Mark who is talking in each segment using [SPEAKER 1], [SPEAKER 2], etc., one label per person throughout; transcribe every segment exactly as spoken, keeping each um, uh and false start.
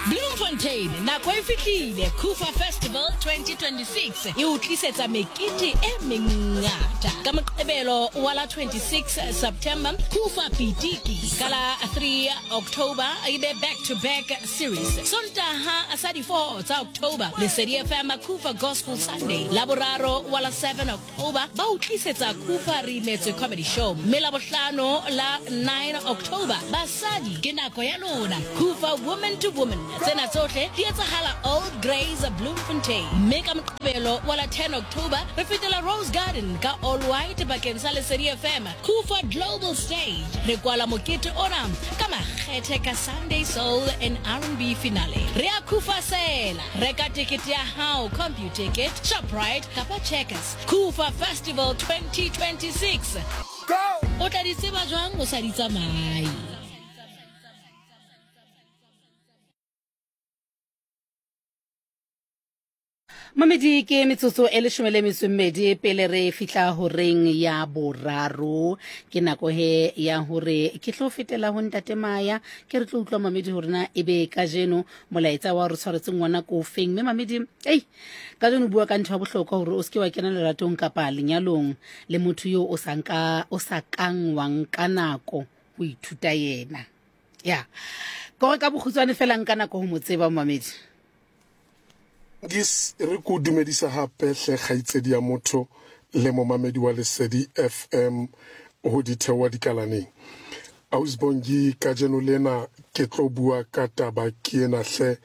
[SPEAKER 1] Bloemfontein nako e fihlile. Kufa Festival twenty twenty-six e o tlisetsa mekete e mengata. Ka Moqebelo wa la twenty-six September, Kufa Pitiki. Ka la three October e be back to back series. Sontaha sa di four tsa October, Lesedi F M Kufa Gospel Sunday. Laboraro wa la seven October ba o tlisetsa Kufa Re Imetswe Comedy Show. Mme Labohlano la nine October, basadi ke nako ya lona. Kufa Woman to Woman. Tsena tsohle di etsahala Old Grays Bloemfontein. Mme ka Moqebelo wa la ten October re fetela Rose Garden ka All White bakeng sa Lesedi F M. Kufa Global Stage. Re kwala mokete ona ka makgethe ka Sunday Soul and R and B finale. Re a Kufa sela. Reka tikete ya hao, Computicket, Shoprite kapa Checkers. Kufa Festival twenty twenty-six.
[SPEAKER 2] Go!
[SPEAKER 1] O tla di tseba jwang o sa di tsamaye?
[SPEAKER 3] Mamedi ke metsotso e leshome le metso e mmedi pele re fihla horeng ya boraro. Ke nako he ya hore ke tlo fetela ho ntate Maya, ke re tlo utlwa mamedi hore na ebe kajeno molaetsa wa re tshwaretseng ngwana ko feng. Mme mamedi, ei, kajeno bua ka ntho ya bohlokwa hore o se ke wa kena leratong kapa lenyalong le motho yo o sa nka, o sa kang wa nka nako ho ithuta yena. Ya. Kore ka bokgutshwane fela nka nako ho mo tseba mamedi.
[SPEAKER 2] Gis re ko dumedisa hape hle kgaitsedi ya motho le momamedi wa Lesedi F M ho dithewa dikalaneng. Ausbongi kajeno lena ke tlo bua ka taba ke ena hle.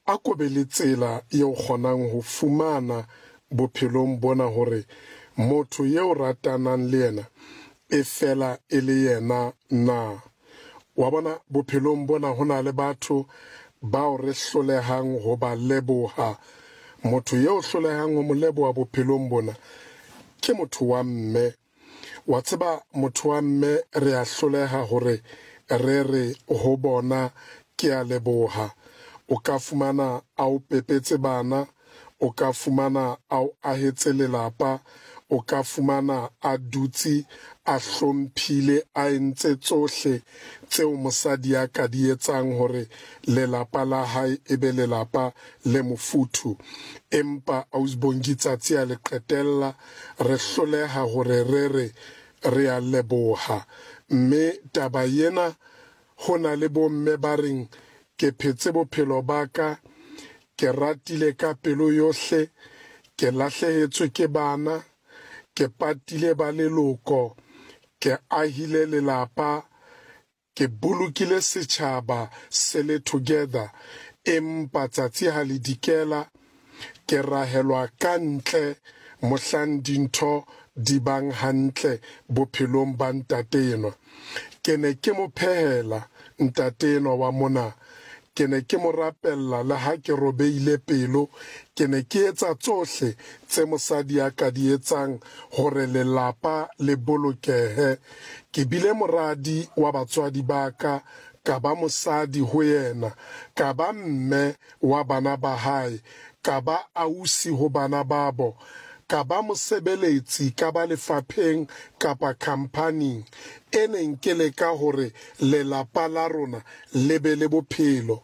[SPEAKER 2] A ko be le tsela eo kgonang ho fumana bophelong bona hore motho eo ratanang le yena e fela e le yena na. Wa bona bophelong bona ho na le batho bao re hlolehang ho ba leboha. Motho eo hlolehang ho mo leboha bophelong bona ke motho wa mme. Wa tseba motho wa mme re a hloleha hore re re ho bona ke a leboha. O ka fumana a o pepetse bana, o ka fumana a o ahetse lelapa, o ka fumana a dutse a hlomphile a entse tsohle tseo mosadi a ka di etsang hore lelapa la hae e be lelapa le mofuthu. Empa Ausbongi tsatsi a le qetella re hloleha hore re re re a leboha. Mme taba ena ho na le bomme ba reng ke phetse bophelo ba ka, ke ratile ka pelo yohle, ke lahlehetswe ke bana, ke patile ba leloko, ke ahile lelapa, ke bolokile setjhaba se le together. Empa tsatsi ha le dikela ke rahelwa ka ntle mohlang dintho di bang hantle bophelong ba ntate enwa. Ke ne ke mo phehela ntate enwa wa mona, ke ne ke mo rapella le ha ke robeile pelo, ke ne ke etsa tsohle tse mosadi a ka di etsang hore lelapa le bolokehe. Ke bile moradi wa batswadi ba ka, ka ba mosadi ho yena, ka ba mme wa bana ba hae, ka ba ausi ho bana babo, ka ba mosebeletsi, ka ba lefapheng kapa khampaning e neng ke leka hore lelapa la rona le be le bophelo.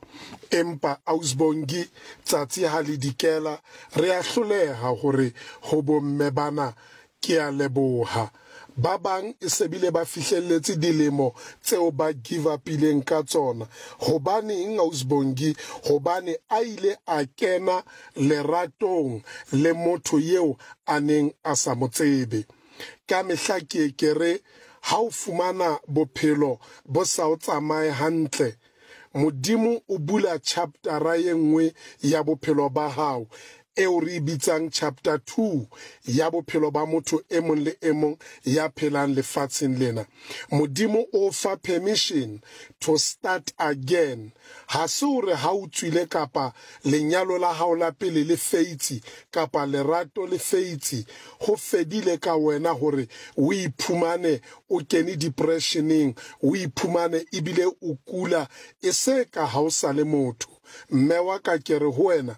[SPEAKER 2] Empa Ausbongi tsatsi ha le dikela re a hloleha hore ho bomme bana ke a leboha. Ba bang e se bile ba fihlelletse dilemo tseo ba give up-ileng ka tsona. Hobaneng Ausbongi? Hobane a ile a kena leratong le motho eo a neng a sa mo tsebe. Ka mehla ke ke re ha o fumana bophelo bo sa o tsamaye hantle, Modimo o bula chaptera e nngwe ya bophelo ba hao eo re bitsang chapter two ya bophelo ba motho e mong le e mong ya phelang lefatsheng lena. Modimo o fa permission to start again. Ha se hore ha o tswile kapa lenyalo la hao la pele le feitse kapa lerato le feitse, ho fedile ka wena hore o iphumane o kene depressioneng, o iphumane ebile o kula e se ka ha o sa le motho. Mme wa ka ke re ho wena,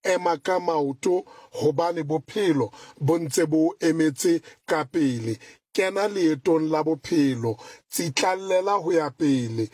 [SPEAKER 2] ema ka maoto hobane bophelo bo ntse bo emetse ka pele. Kena leetong la bophelo, tsitlallela ho ya pele.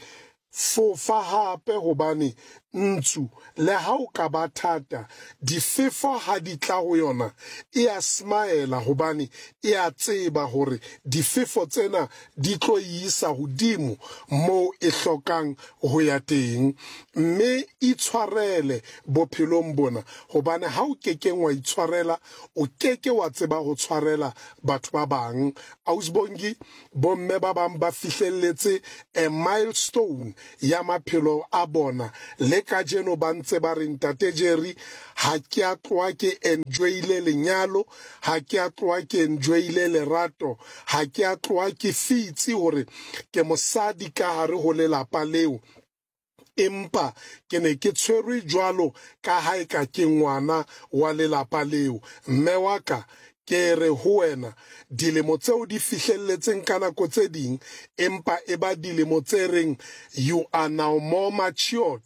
[SPEAKER 2] Fofa hape hobane Ntsu le ha o ka ba thata, difefo ha di tla ho yona e a smile hobane e a tseba hore difefo tsena di tlo isa hodimo moo e hlokang ho ya teng. Mme itshwarele bophelong bona, hobane ha o kekeng wa itshwarela, o keke wa tseba ho tshwarela batho ba bang. Ausbongi, bomme ba bang ba fihlelletse a milestone ya maphelo a bona, le kajeno ba ntse ba re, Ntate Jerry, ha ke a tloha ke enjoyile lenyalo, ha ke a tloha ke enjoyile lerato, ha ke a tloha ke fitse hore ke mosadi ka hare ho lelapa leo, empa ke ne ke tshwerwe jwalo ka ha eka ke ngwana wa lelapa leo. Mme wa ka, ke re ho wena, dilemo tseo di fihlelletseng ka nako tse ding, empa e ba dilemo tse reng you are now more matured,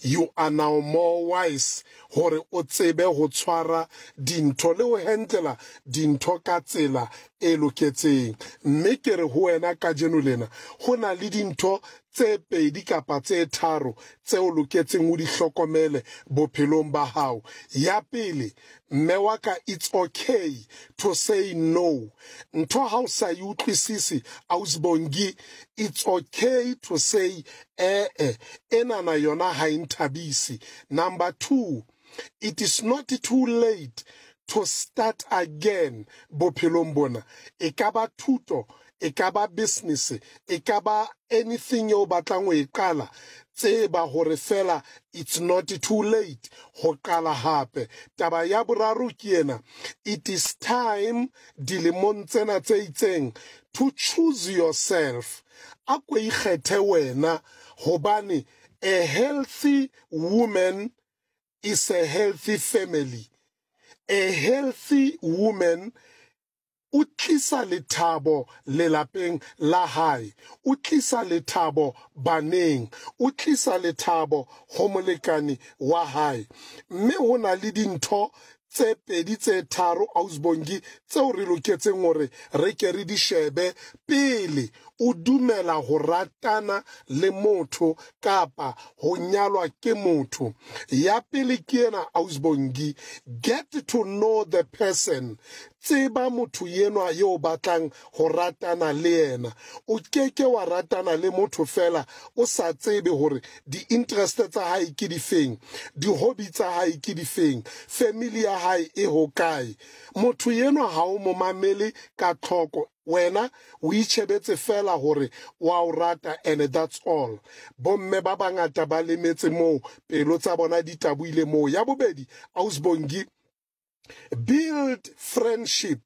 [SPEAKER 2] you are now more wise, hore o tsebe ho tshwara dintho le ho handlela dintho ka tsela e loketseng. Mme ke re ho wena kajeno lena, ho na le dintho tse pedi kapa tse tharo tseo loketseng o di hlokomele bophelong ba hao. Ya pele, mme wa ka, it's okay to say no. Ntho ha o sa e utlwisise, Ausbongi, it's okay to say eh-eh, enana yona ha e nthabise. Number two, it is not too late to start again bophelong bona. E ka ba thuto, e ka ba business, e ka ba anything eo batlang ho e qala, tseba hore fela it's not too late ho qala hape. Taba ya boraro ke ena, it is time dilemong tsena tse itseng to choose yourself. A ko ikgethe wena, hobane a healthy woman is a healthy family. A healthy woman o tlisa lethabo lelapeng la hae, o tlisa lethabo baneng, o tlisa lethabo ho molekane wa hae. Mme ho na le dintho tse pedi tse tharo, Ausbongi, tseo re loketseng hore re ke re di shebe pele o dumela ho ratana le motho kapa ho nyalwa ke motho. Ya pele ke ena, Ausbongi, get to know the person. Tseba motho enwa yo batlang ho ratana le yena. O keke wa ratana le motho fela o sa tsebe hore di-interest tsa hae ke difeng, di-hobby tsa hae ke difeng, family ya hae e hokae. Motho enwa ha o mo mamele ka tlhoko, wena o itjhebetse fela hore wa o rata, and that's all. Bomme ba bangata ba lemetse moo, pelo tsa bona di taboile moo. Ya bobedi, Ausbongi, build friendship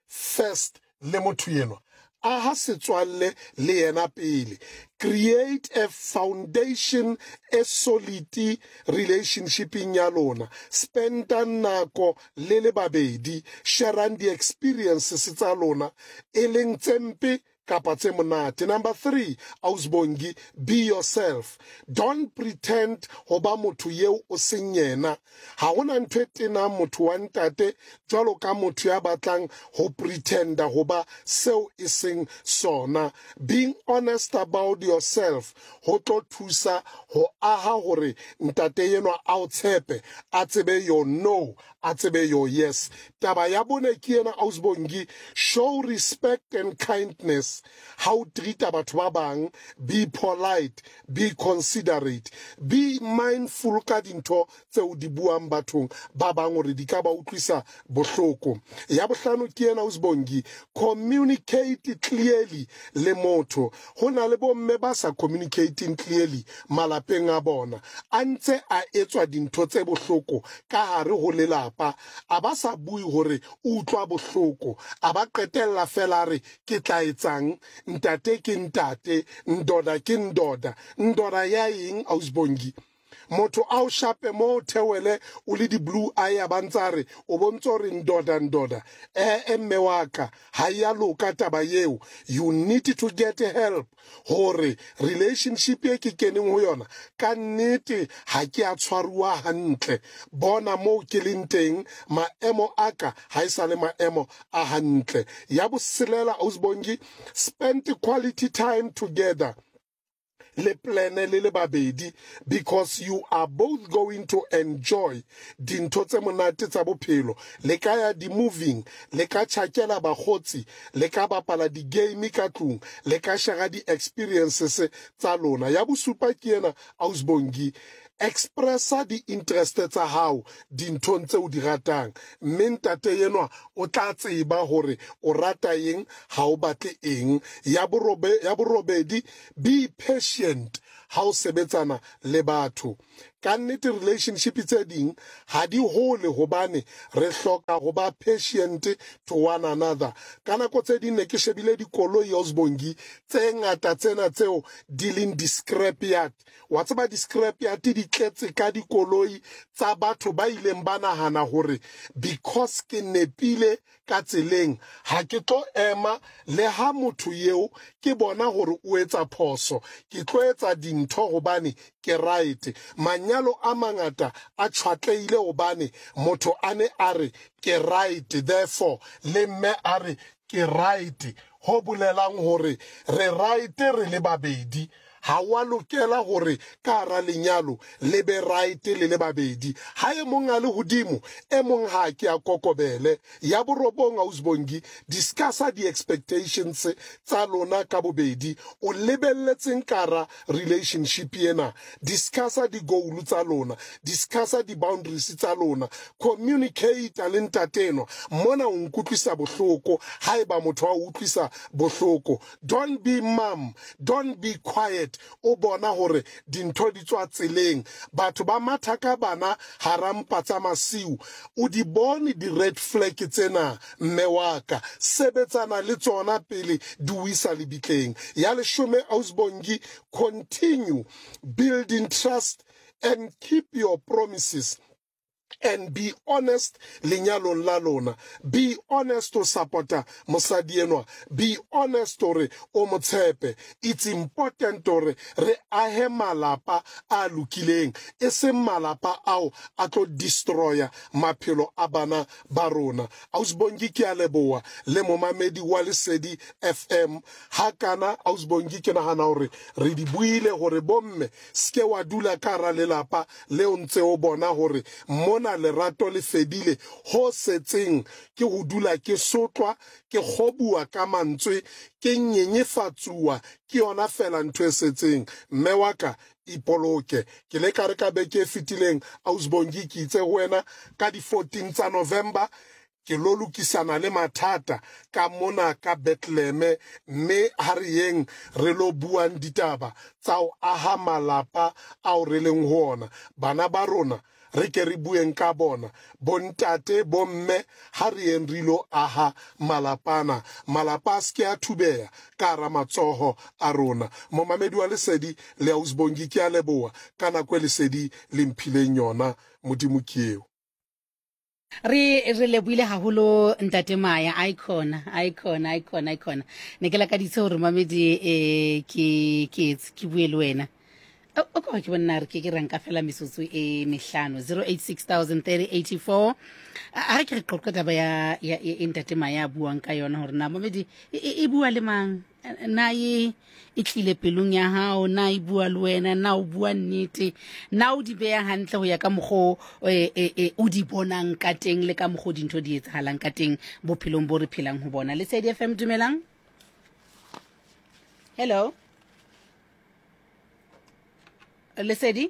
[SPEAKER 2] first le motho enwa. Aha setswalle le yena pele. Create a foundation, a solid relationship-ing ya lona. Spenda nako le le babedi, sharang di-experiences tsa lona, e leng tse mpe kapa tse monate. Number three, Ausbongi, be yourself. Don't pretend ho ba motho eo o seng yena. Ha hona ntho e tenang motho wa ntate jwalo ka motho ya batlang ho pretenda ho ba seo e seng sona. Being honest about yourself ho tlo thusa ho aha hore ntate enwa a o tshepe, a tsebe your no, a tsebe your yes. Taba ya bone ke ena, Ausbongi, show respect and kindness. Ha o treat-a batho ba bang, be polite, be considerate, be mindful ka dintho tseo di buang bathong ba bang hore di ka ba utlwisa bohloko. Ya bohlano ke ena, Ausbongi, communicate clearly le motho. Ho na le bomme ba sa communicating clearly malapeng a bona, a ntse a etswa dintho tse bohloko ka hare ho lelapa, a ba sa bue hore o utlwa bohloko, a ba qetella fela a re ke tla etsang, ntate ke ntate, ndoda ke ndoda. Ndoda ya eng, Ausbongi? Motho a o shape mo theole o le di-blue eye, ba ntsa re o bontse hore ndoda ndoda. Eh, mme wa ka, ha ya loka taba eo. You need to get help hore relationship e ke keneng ho yona ka nnete ha ke a tshwaruwa hantle. Bona moo ke leng teng, maemo a ka ha e sa le maemo a hantle. Ya botshelela, Ausbongi, spend quality time together. Le plane le le babedi, because you are both going to enjoy dintho tse monate tsa bophelo. Le ka ya di-moving, le ka tjhakela bakgotsi, le ka bapala di-game ka tlung, le ka share di-experiences tsa lona. Ya bosupa ke ena, Ausbongi, expressa di-interest tsa hao dinthong tse o di ratang, mme ntate enwa o tla tseba hore o rata eng, ha o batle eng. Ya borobe, ya borobedi, be patient ha o sebetsana le batho. Ka nnete relationship tse ding ha di hole hobane re hloka ho ba patient to one another. Ka nako tse ding ne ke shebile dikoloi, Osbongi, tse ngata tsena tseo di leng di-scrapyard. Wa tseba di-scrapyard di tletse ka dikoloi tsa batho ba ileng ba nahana hore because ke nepile ka tseleng ha ke tlo ema le ha motho eo ke bona hore o etsa phoso, ke tlo etsa dintho hobane ke right. Manyalo a mangata a tshwatlehile hobane motho a ne a re ke right, therefore le mme a re ke right, ho bolelang hore re right re le babedi. Ha wa lokela hore ka hara lenyalo le be right le le babedi. Ha e mong a le hodimo, e mong ha ke a kokobele. Ya borobong, Ausbongi, discussa di-expectations tsa lona ka bobedi. O lebelletseng ka hara relationship ena. Discussa di-goal tsa lona, discussa di-boundaries tsa lona. Communicate le ntate enwa. Mona o nkutlwisa bohloko, haeba motho a utlwisa bohloko. Don't be mum, don't be quiet. O bona hore dintho di tswa tseleng, batho ba matha ka bana hara mpa tsa masiu. O di bone di-red flag tsena, mme wa ka, sebetsana le tsona pele di o isa lebitleng. Ya leshome, Ausbongi, continue building trust and keep your promises and be honest lenyalong la lona. Be honest to supporta mosadi enwa, be honest hore o mo tshepe. It's important hore re ahe malapa a lokileng, e seng malapa ao a tlo destroya maphelo a bana ba rona. Ausbongi, ke a leboha le momamedi wa Lesedi F M. Ha kana, Ausbongi, ke nahana hore re di buile hore bomme ske wa dula ka hara lelapa leo ntse o bona hore mona lerato le fedile, ho setseng ke ho dula ke sotlwa, ke kgobuwa ka mantswe, ke nyenyefatsuwa, ke yona fela ntho e setseng. Mme wa ka, ipoloke. Ke le ka re ka beke e fetileng, Ausbongi, ke itse ho wena ka di fourteen tsa November ke lo lokisana le mathata ka mona ka Bethlehem, mme ha re yeng re lo buang ditaba tsa ho aha malapa ao re leng ho ona. Bana ba rona re ke re bueng ka bona, bontate, bomme, ha re yeng re lo aha malapana. Malapa a se ke a thubeha ka hara matsoho a rona. Momamedi wa Lesedi le Ausbongi, ke a leboha ka nako e Lesedi le mphileng yona. Modimo ke eo.
[SPEAKER 3] Re re lebohile haholo ntate Maya. Icon, icon, icon, icon. Ne ke lakaditse hore mamedi eh ke ke ke bue le wena. O ka ke bona re ke ke ranka fela metsotso e mehlano, zero eight six thousand thirty eighty four. A re ke re qoqa taba ya ya e ntate Maya buang ka yona hore na mamedi e bua le mang, na e e tlile pelong ya hao, na e bua le wena, na o bua nnete, na o di beya hantle ho ya ka mokgo e o di bonang ka teng le ka mokgo dintho di etsahalang ka teng bophelong bo re phelang ho bona. Lesedi F M, dumelang. Hello Lesedi.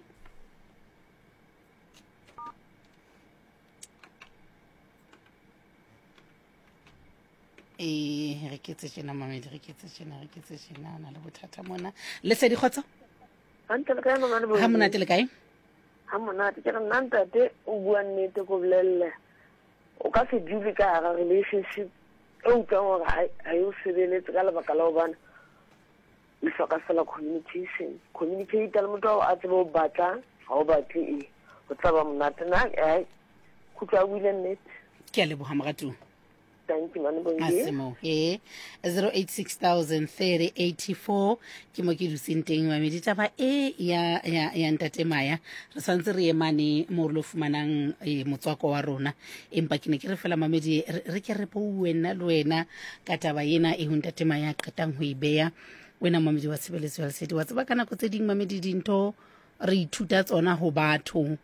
[SPEAKER 3] E re ke tse tjena mamedi, re ke tse tjena, re ke tse tjena, na le bothata mona. Lesedi, kgotso.
[SPEAKER 4] Hantle le kae mama le
[SPEAKER 3] Ha monate le kae?
[SPEAKER 4] Ha monate. Ke re nna ntate o bua nnete ko bolelle. O ka se dule ka hara relationship e utlwang hore ha e o sebeletse ka lebaka la hobane le hloka fela communication. Communicate le motho a tsebe o batla, ha o batle e. Ho tla ba monate na eh kutlwa buile nnete.
[SPEAKER 3] Ke a leboha moratuwa.
[SPEAKER 4] Thank you, Mane Bongi.
[SPEAKER 3] Asimo, eh, zero eight six thousand thirty eighty four. Ke mo ke dutseng teng mamedi taba e ya ya ya ntate Maya. Re santse re emane mo re lo fumanang e motswako wa rona. Empa ke ne ke re fela mamedi re ke re bue nna le wena ka taba ena e ho ntate Maya qetang ho e beya. Wena mamedi wa tshebeletso ya Lesedi, wa tseba ka nako tse ding mamedi dintho re ithuta tsona ho batho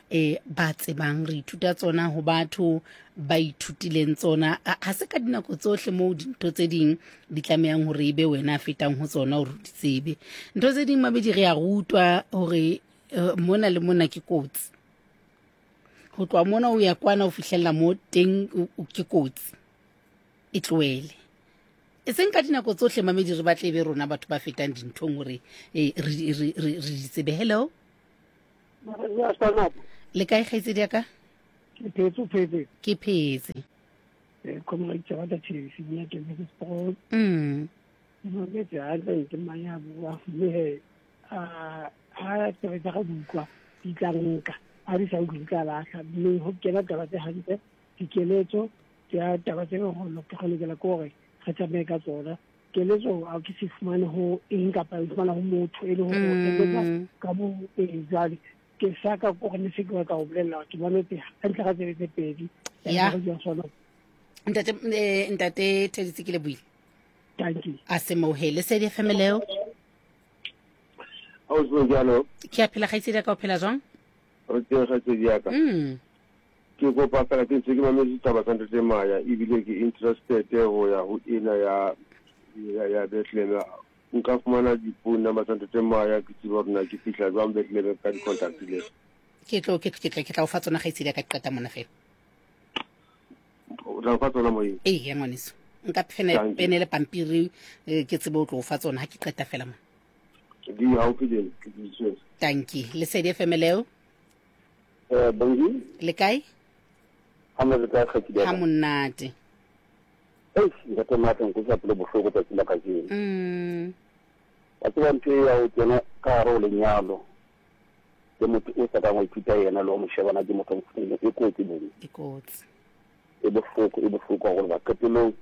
[SPEAKER 3] eh ba tsebang, re ithuta tsona ho batho ba ithutileng tsona. Ha se ka dinako tsohle moo dintho tse ding di tlamehang hore ebe wena a fetang ho tsona hore o di tsebe. Ntho tse ding mamedi re a rutwa hore mona le mona ke kotsi. Ho tloha mona o ya kwana o fihlella mo teng ke kotsi. E tlohele. E seng ka dinako tsohle mamedi re batle be rona batho ba fetang dinthong hore re re re di tsebe. Hello. Le kae kgaitsedi ya ka?
[SPEAKER 5] Ke phetse, o phetse.
[SPEAKER 3] Ke phetse.
[SPEAKER 5] Eh, comrade Tsabata Tshisi, nna ke Missus Paul.
[SPEAKER 3] Mm.
[SPEAKER 5] Ke hantle ke mang ya bua, mme he, a ha taba tsa ga di utlwa, di tla nka. Ha di sa utlwe di tla lahla. Mme ho kena taba tse hantle, dikeletso, tsa taba tse go lokela ke hore re tsamaye ka tsona. Keletso a ke se fumane ho eng kapa e fumana ho motho e le hore o eletsa ka bo e jwale. Ke sa ka ko ne se ke batla ho bolella ke mametse hantle ka tsebe tse pedi.
[SPEAKER 3] Ya. Ntate eh, ntate Theditse ke le buile.
[SPEAKER 5] Thank you.
[SPEAKER 3] A se mohele se di F M leo.
[SPEAKER 6] Ha o se jalo.
[SPEAKER 3] Ke a phela kgaitsedi ka o phela jwang?
[SPEAKER 6] Re teng kgaitsedi ya ka.
[SPEAKER 3] Mm.
[SPEAKER 6] Ke kopa fela ke ntse ke mametse taba tsa ntate Maya ebile ke interested ho ya ho ena ya ya ya Bethlehem. Nka fumana diphone number tsa ntate Maya ke tsebe hore na ke fihla jwang Bethlehem ka di-contact le.
[SPEAKER 3] Ke tlo ke ke ke tla o fa tsona kgaitsedi ya ka qeta mona fela.
[SPEAKER 6] O tla o fa tsona moyeng?
[SPEAKER 3] Ee, ya ngwaneso. Nka pene pene le pampiri ke tsebe o tlo o fa tsona ha ke qeta fela mona.
[SPEAKER 6] Di haufi le ke di tshwere.
[SPEAKER 3] Thank you. Lesedi F M leo.
[SPEAKER 6] Eh, bonjour.
[SPEAKER 3] Le kae?
[SPEAKER 6] Ha mo le kae kgaitsedi ya ka?
[SPEAKER 3] Ha monate.
[SPEAKER 6] Eish, ntate Maya nkutlwa pelo bohloko tsatsi la kajeno.
[SPEAKER 3] Mm.
[SPEAKER 6] Wa tseba ntho e ya ho kena ka hare ho lenyalo le motho o sa kang wa ithuta yena le wa mo shebana ke motho o mofuta e kotsi bong.
[SPEAKER 3] E kotsi.
[SPEAKER 6] E bohloko, e bohloko haholo ba qetellong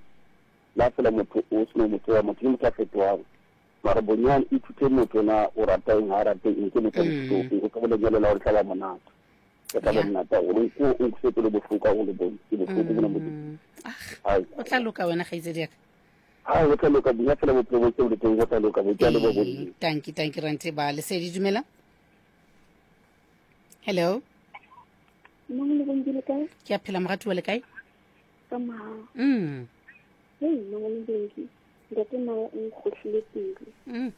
[SPEAKER 6] la fela motho o seno motho wa motho ke motho a fetohang. Mara bonyane ithute motho na o rata eng ha rate eng ke motho a mofuta o ka bo lenyalo la hore tla ba monate. Ke tla ba monate haholo o o nkutlwe pelo bohloko haholo bong ke bohloko bona motho.
[SPEAKER 3] Ah, o tla loka wena kgaitsedi ya ka.
[SPEAKER 6] Ha o tla loka bonya fela bophelo bo tseo le teng o tla loka bo tla le bo bo.
[SPEAKER 3] Thank you, thank you Rante ba Lesedi dumela. Hello.
[SPEAKER 7] Mama le bongi le kae?
[SPEAKER 3] Ke a phela moratuwa le kae?
[SPEAKER 7] Ka mahao.
[SPEAKER 3] Mm.
[SPEAKER 7] Hey, mama le bongi. Ntate Maya o nkgohlile pele.
[SPEAKER 3] Mm.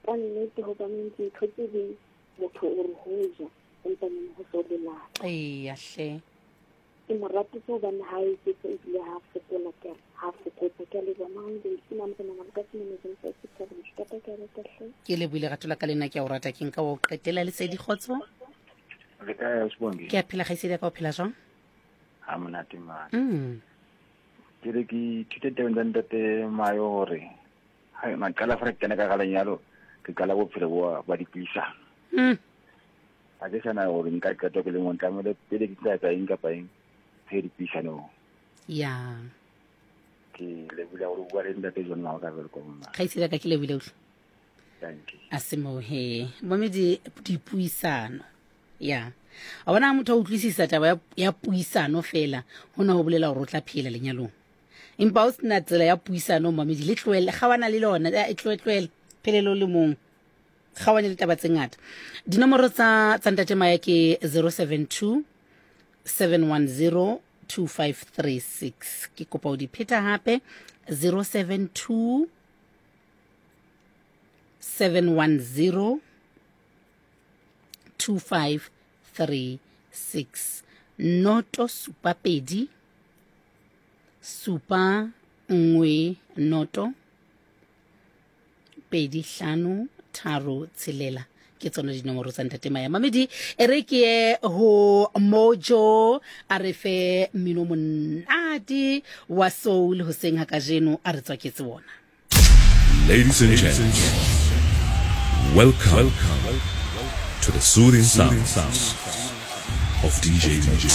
[SPEAKER 7] Ka nnete hobane dintho tse ding motho o re ho ja empa neng ho so lelapa.
[SPEAKER 3] Eya hle.
[SPEAKER 7] Ke mo ratetse hobane ha e eketsa ebile ha fokola ke re, ha fokotsa ke a leboha mama le bongi ke mama ke nahana ka se memetseng sa se ka re ke ka rata hle.
[SPEAKER 3] Ke lebohile rato la ka le nna ke a o rata ke nka wa o qetela Lesedi kgotso.
[SPEAKER 8] Le kae Sibongi?
[SPEAKER 3] Ke a phela kgaitsedi ya ka o phela jwang?
[SPEAKER 8] Ha monate mane.
[SPEAKER 3] Mm.
[SPEAKER 8] Ke re ke ithute tabeng tsa ntate Mayo hore ha maqala fa re kena ka ga lenyalo ke qala bophelo bo ba dipuisano.
[SPEAKER 3] Mm.
[SPEAKER 8] Ha ke sana hore nka qeto ke le mong tlamehile pele ke tla etsa eng kapa eng re dipuisanong.
[SPEAKER 3] Ya.
[SPEAKER 8] Ke lebohile hore o bua le ntate John Mao ka welcome.
[SPEAKER 3] Kgaitsedi ya ka ke lebohile utlwa.
[SPEAKER 8] Thank you.
[SPEAKER 3] A se mohe. Momedi dipuisano. Ya. A bona motho a utlwisisa taba ya, ya puisano fela hona ho bolela hore o tla phela lenyalong. Empa o sena tsela ya puisano mamedi le tlohele gawana le lona e tloe tlohele phelelo le mong. Gawane le taba tse ngata. Dinomoro tsa tsa ntate Maya ke zero seven two seven one zero two five three six. Ke kopa o di pheta hape zero seven two seven one zero two five three six. Noto supa pedi supa nngwe noto pedi hlano tharo tshelela. Ke tsona dinomoro tsa ntate Maya. Mamedi e re ke ye ho Mojo a re fe mmino monate wa soul hoseng ha kajeno a re tswaketse bona.
[SPEAKER 9] Ladies and gentlemen, welcome, welcome to the soothing sounds of D J Mojo.